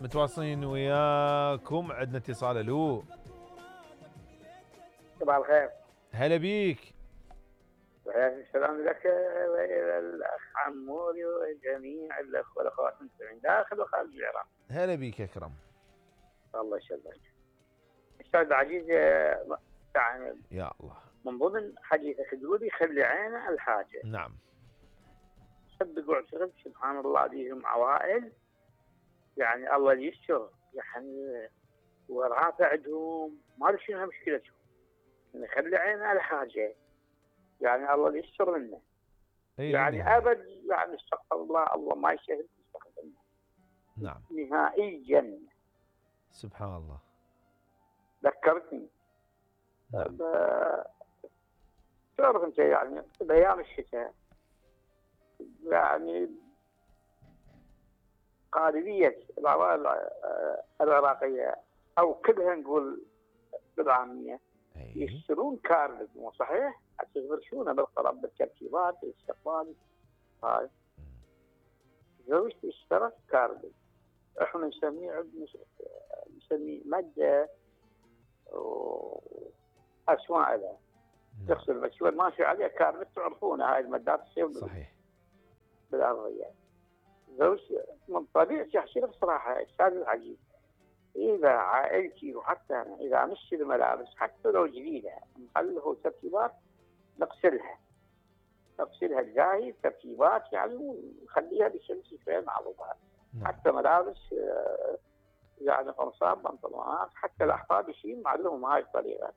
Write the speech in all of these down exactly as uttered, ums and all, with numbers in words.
متواصلين وياكم. عندنا اتصال. الو صباح الخير. هلا بيك. السلام لك والى الاخ عموري وجميع الاخوه والاخوات المستمعين داخل وخارج العراق. هلا بيك يا اكرم. الله يسلمك. استاذ عزيز، يعني يا الله من ضمن حديثك تقولي خلي عينه على الحاجه. نعم. صدق واعتقد سبحان الله بيهم عوائل يعني الله يستر، يعني ورافع عندهم ما ادري شنو مشكلتهم، يعني خلي عينه على حاجه، يعني الله يستر منه. يعني نهاية. ابد يعني استغفر الله، الله ما يسهل يستخدمه. نعم نهائيا. سبحان الله. ذكرتني. نعم. تعرف انت يعني بايام الشتاء يعني غالبيه العوائل العراقيه او كلها نقول بالعاميه يشترون كارد، مو صحيح؟ حتى يفرشونه بالقرب بالتركيبات بالاستقبال. هاي زوجتي اشترت كارد، احنا نسميه عندنا نسميه ماده واسماء لها تغسل مكسور ماشي عليها كارد، تعرفونها هاي المادات تصير صحيح بالارضيه. زوجتي من طبيعتي احكي لك صراحه استاذ العزيز، اذا عائلتي وحتى انا اذا نشتري ملابس حتى لو جديده نخليه ترتيبات نغسلها نغسلها جاهز ترتيبات يعني ونخليها بشمس شويه مع بعضها. حتى ملابس يعني قمصان بنطلونات حتى الاحفاد يشيل معلهم هاي الطريقه.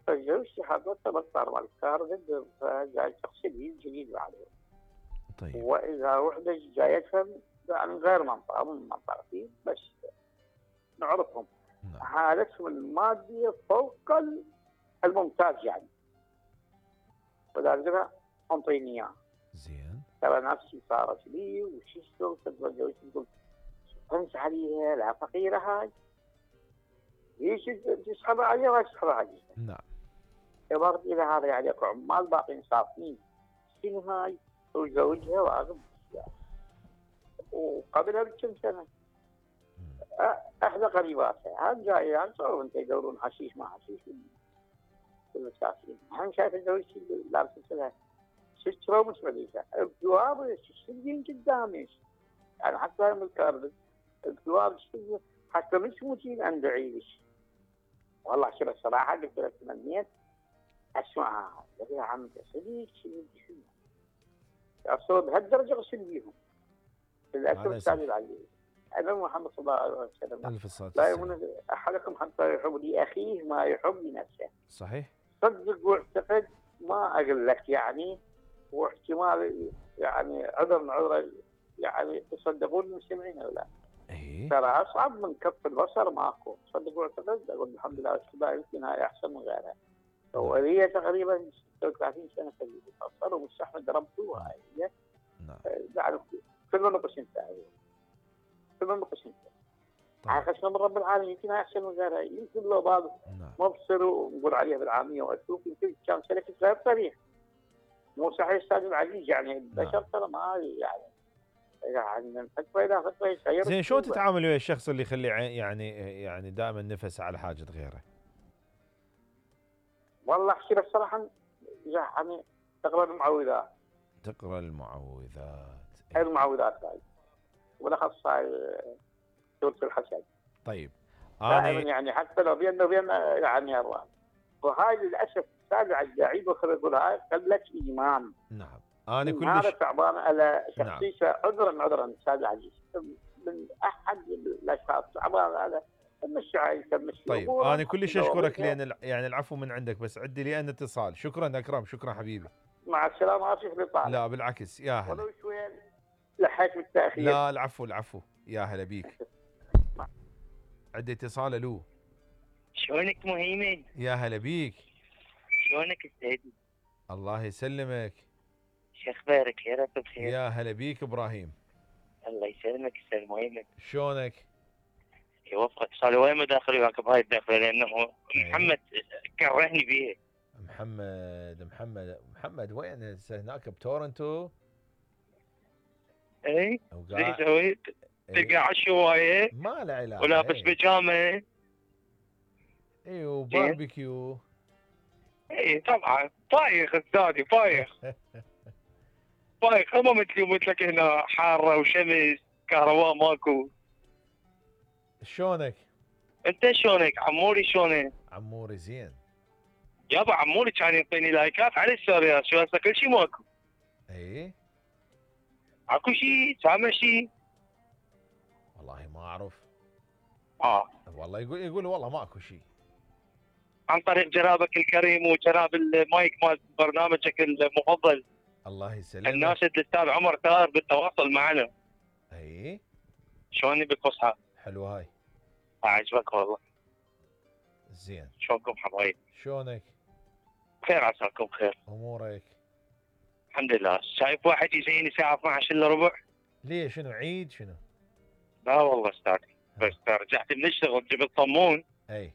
فزوجتي حضرتها بالطار مال الكارد فجاي تغسل جديد بعده. طيب. واذا وحده جايتها يعني غير منطقه من منطقتي بس نعرفهم. نعم. حالتهم الماديه فوق الممتاز يعني. ولذلك انطيني اياه. زين. ترى نفسي صارت لي وش اسوي؟ تقول تقول تنس عليها لا فقيره هاي. ليش تسحب عليها ولا تسحب عليها؟ نعم. عبارة إذا هذا عليك عمال باقين صافين شنو هاي؟ وزوجها واقف وقبلها بكم سنة. احدى قريباتها هم جاي يعني صاروا انت يدورون حشيش ما حشيش بالمساكين. هم شايف زوجتي لابسه لها ست رو مش مليشة الجواب تشتغلين قدامي يعني حتى من الكارد الجواب حتى مش موتين عند عيش. والله شوف الصراحة قلت لك تمنيت اسمعها قلت يا عم صديق شنو شنو اصلا بهالدرجة غسل بيهم للاسف استاذ العزيز. انا محمد صلى الله عليه وسلم الف صلاة لا يؤمن احدكم حتى يحب لاخيه ما يحب لنفسه. صحيح. صدق واعتقد ما اقول لك يعني واحتمال يعني عذر من عذر يعني تصدقون المستمعين ولا لا؟ ايه ترى اصعب من كف البصر ماكو. صدق واعتقد اقول الحمد لله والشكر يمكن هاي احسن من غيرها. وهي تقريبا ستة وثلاثين سنه في البصر ومستحمل ربطوها هي. نعم. يعني كل نقص انتهى كل نقص انتهى. عاقشنا من رب العالمين يمكن احسن من غيرها. يمكن لو بعض مبصر ونقول عليها بالعاميه واشوف يمكن كان سلكت غير طريق. مو صحيح استاذ العزيز يعني البشر ترى ما يعني يعني من فتره الى فتره يتغير. زين شلون تتعامل ويا الشخص اللي يخلي يعني يعني دائما نفس على حاجه غيره؟ والله احكي لك صراحه يعني تقرا المعوذات. تقرا المعوذات. هاي المعوذات هاي وبالاخص هاي سوره الحسد. طيب انا يعني حتى لو بيننا وبيننا يعني الله وهاي للاسف استاذ العزيز وخلينا نقول هاي قله ايمان. نعم. انا كلش هذا تعبان على شخصيته. نعم. عذرا عذرا استاذ العزيز من احد الاشخاص تعبان على مش عايز مش. طيب انا كلش اشكرك لان يعني العفو من عندك بس عندي لي انا اتصال. شكرا اكرم. شكرا حبيبي. مع السلامه. اسف للطالب. لا بالعكس يا هلا. ولو شويه لحيت بالتاخير. لا العفو العفو يا هلا بيك. عندي اتصال. الو شلونك مهيمن؟ يا هلا بيك. شلونك السيد؟ الله يسلمك. شو اخبارك؟ يا رب بخير. يا هلا بيك ابراهيم. الله يسلمك استاذ مهيمن. شلونك؟ يوفقك. صار وين مداخل وياك بهاي الدخله لانه محمد كرهني بيه. محمد محمد محمد وين هناك بتورنتو؟ اي ايش سويت؟ تلقى على الشوايه ما له علاقه. ولابس ايه. بيجامه. اي وباربيكيو. اي طبعا بايخ استاذي بايخ. بايخ ما مثلي ومثلك هنا حاره وشمس كهرباء ماكو. شلونك؟ انت شلونك عموري شلونك؟ عموري زين. يابا عموري كان يعطيني لايكات على الستوريات شو هسه كل شيء ماكو. اي اكو شيء سامع شيء؟ والله ما اعرف. اه والله يقول يقول والله ماكو شيء. عن طريق جنابك الكريم وجناب المايك مال برنامجك المفضل. الله يسلمك. الناشد الاستاذ عمر ثائر بالتواصل معنا. اي شلوني بالفصحى؟ حلوه هاي. عجبك والله. زين. شلونكم حبايب؟ شلونك؟ بخير عساكم بخير. امورك؟ الحمد لله. شايف واحد يجيني الساعه اثنعش الا ربع؟ ليه شنو عيد شنو؟ لا والله استاذي بس رجعت من الشغل جبت صمون. اي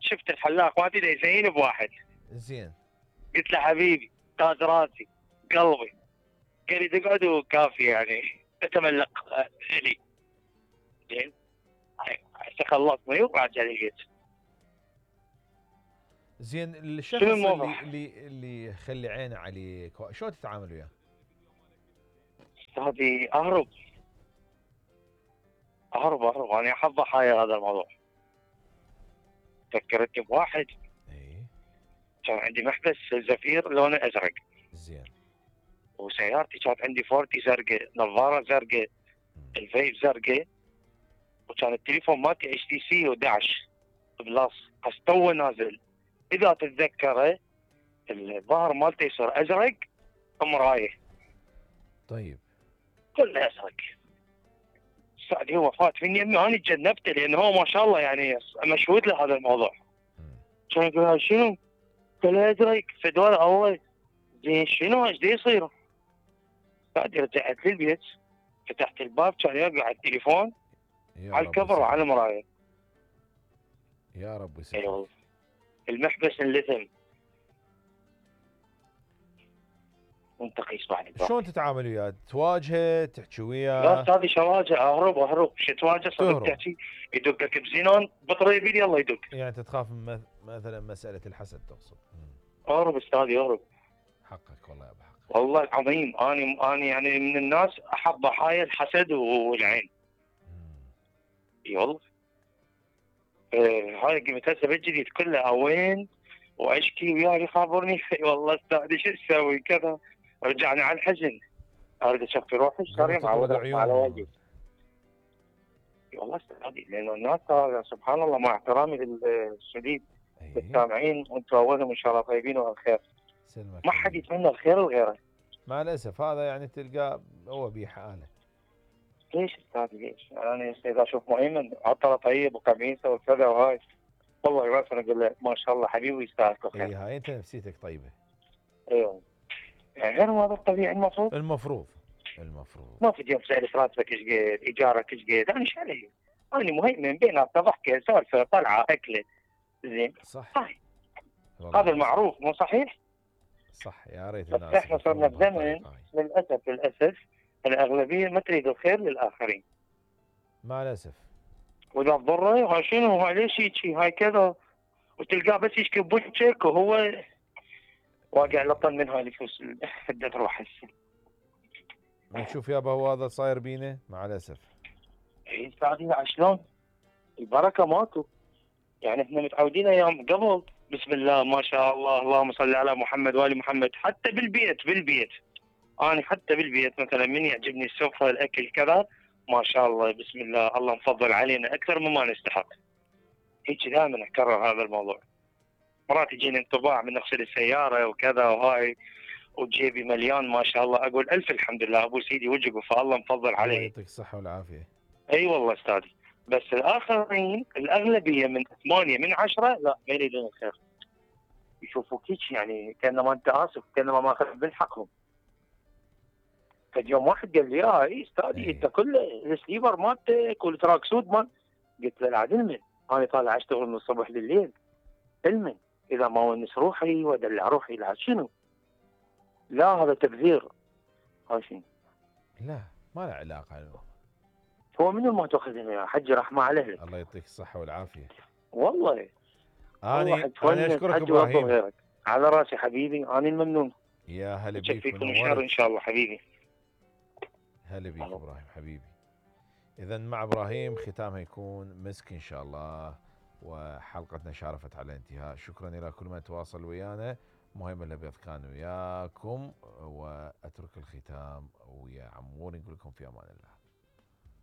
شفت الحلاق ما تدري يزين بواحد. زين. قلت له حبيبي تاج راسي قلبي. قال لي تقعد وكافي يعني اتملق لي. زين هسه خلصني وراجع لي البيت. زين الشخص شنو اللي الموضوع؟ اللي اللي يخلي عينه عليك شلون تتعامل وياه؟ هذه اهرب اهرب اهرب انا احب ضحايا هذا الموضوع. فكرتني بواحد اي كان عندي محبس زفير لونه ازرق. زين. وسيارتي كانت عندي فورتي زرقاء، نظاره زرقاء، الفيب زرقاء، وكان التليفون مالتي اتش تي سي احد عشر بلس بس تو نازل. اذا تتذكره الظهر مالته يصير ازرق مرايه. طيب. كله ازرق. سعدي هو فات من يمي انا تجنبته لان هو ما شاء الله يعني مشهود له هذا الموضوع. كان يقول شنو؟ قال له ازرق فدوار اول. زين شنو ايش يصير؟ سعدي رجعت للبيت فتحت الباب كان يوقع على التليفون على الكفر وعلى المرايه. يا رب يسلمك. اي والله المحبس انلثم. وانت قيس بعد. شلون تتعامل وياه؟ تواجهه تحكي لا وياه؟ استاذي شواجه اهرب اهرب شو تواجه صدق تحكي يدقك بزينون بطريبي يلا يدق. يعني انت تخاف من مثلا مساله الحسد تقصد؟ اهرب استاذي اهرب. حقك والله يا ابو حق. والله العظيم اني اني يعني من الناس احب ضحايا الحسد والعين. اي والله. آه هاي قمت هسه بالجديد كله وين واشكي وياه يخابرني. والله استاذي شو اسوي كذا. رجعني على الحزن. اريد اشوف روحي صار معود على وجهي. والله استاذي لانه الناس سبحان الله مع احترامي للشديد السامعين وانتم اولهم ان شاء الله طيبين والخير. سلمك. ما حد يتمنى الخير لغيره. مع الاسف هذا يعني تلقاه هو بيه حاله. ليش استاذي ليش؟ انا اذا اشوف مؤمن عطله طيب وقميصه وكذا وهاي والله يوافق اقول له ما شاء الله حبيبي يستاهلك الخير. اي هاي انت نفسيتك طيبه. ايوه يعني غير هذا الطبيعي المفروض. المفروض المفروض. ما في يوم سالت راتبك ايش قد؟ ايجارك ايش قد؟ انا ايش علي؟ انا مهيمن بيناتنا ضحكه سالفه طلعه اكله. زين صح. صح. هذا المعروف مو صحيح؟ صح يا ريت الناس. احنا صرنا بزمن للاسف للاسف الاغلبيه ما تريد الخير للاخرين. مع الاسف. واذا تضره هاي شنو هاي ليش هيك هاي كذا وتلقاه بس يشكي بوجهك وهو واقع لطن من هاي الفلوس اللي تروح هسه. ما تشوف يابا هو هذا صاير بينا مع الاسف. اي استاذي شلون؟ البركه ماكو. يعني احنا متعودين ايام قبل بسم الله ما شاء الله اللهم صل على محمد وال محمد حتى بالبيت بالبيت. انا حتى بالبيت مثلا من يعجبني السفره الاكل كذا ما شاء الله بسم الله الله مفضل علينا اكثر مما نستحق. هيك دائما اكرر هذا الموضوع. مرات يجيني انطباع من نغسل السياره وكذا وهاي وجيبي مليان ما شاء الله اقول الف الحمد لله ابو سيدي وجهك فالله مفضل علي. الله يعطيك الصحه والعافيه. اي والله استاذي. بس الاخرين الاغلبيه من ثمانيه من عشره لا ما يريدون الخير. يشوفوك هيك يعني كانما انت اسف كانما ماخذ من حقهم. فاليوم واحد قال لي اه اي استاذي انت كل السليبر مالتك والتراك سود مال. قلت له لا علما انا طالع اشتغل من الصبح لليل. علما اذا ما ونس روحي وادلع روحي لا شنو؟ لا هذا تبذير. هاي شنو؟ لا ما له علاقه. هو منو ما تاخذهم يا حجي رحمه على اهلك. الله يعطيك الصحة والعافية. والله اني واحد انا تونس اشكرك حجي وافضل ابراهيم. غيرك. على راسي حبيبي، انا الممنون. يا هلا بيك فيكم الشر ونورت. ان شاء الله حبيبي. هلا بيك ابراهيم حبيبي. اذا مع ابراهيم ختامها يكون مسك ان شاء الله، وحلقتنا شارفت على الانتهاء. شكرا الى كل من تواصل ويانا. مهم الابيض كان وياكم، واترك الختام ويا عمور نقول لكم في امان الله.